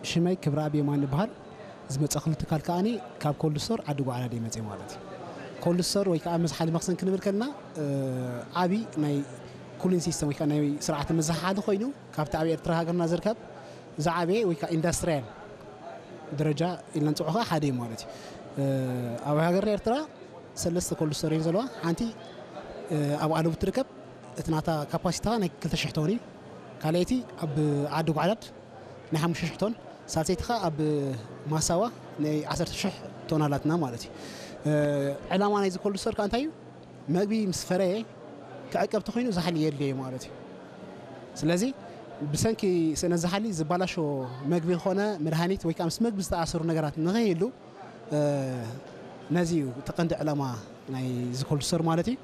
ሽመይ ክብረኣብ የማን ይበሃል። ዝመፀእኩሉ ትካል ከዓኒ ካብ ኮልድ ስቶር ዓዲ ጓዕላ ድየ መፅእ ማለት እዩ። ኮልድ ስቶር ወይ ከዓ መዝሓሊ መኽዘን ክንብል ከለና ዓብዪ ናይ ኩሊን ሲስተም ወይ ከዓ ናይ ስርዓተ መዘሓሓሊ ኮይኑ ካብቲ ኣብ ኤርትራ ሃገርና ዝርከብ ዝዓበየ ወይ ከዓ ኢንዳስትሪያል ደረጃ ኢልና ንፅውዖ ከዓ ሓደ እዩ ማለት እዩ። ኣብ ሃገርና ኤርትራ ሰለስተ ኮልድ ስቶር እየን ዘለዋ። ሓንቲ ኣብ ኣለቡ ትርከብ፣ እቲ ናታ ካፓሲቲ ከዓ ናይ ክልተ ሽሕ ቶን እዩ። ካልኣይቲ ኣብ ዓዲ ጓዕላድ ናይ ሓሙሽተ ሽሕ ቶን፣ ሳልሰይቲ ከዓ ኣብ ማሳዋ ናይ ዓሰርተ ሽሕ ቶን ኣላትና ማለት እዩ። ዕላማ ናይዚ ኮልድ ስቶር ከዓ እንታይ እዩ? መግቢ ምስ ፈረየ ክዕቀብ ተኾይኑ ዛሕሊ የድልዮ እዩ ማለት እዩ። ስለዚ ብሰንኪ ስእነት ዛሕሊ ዝባላሾ መግቢ ኾነ መድሃኒት ወይ ከዓ ምስ መግቢ ዝተኣሰሩ ነገራት ንኸይህሉ ነዚ እዩ እቲ ቀንዲ ዕላማ ናይ ዝኮልድ ስቶር ማለት እዩ።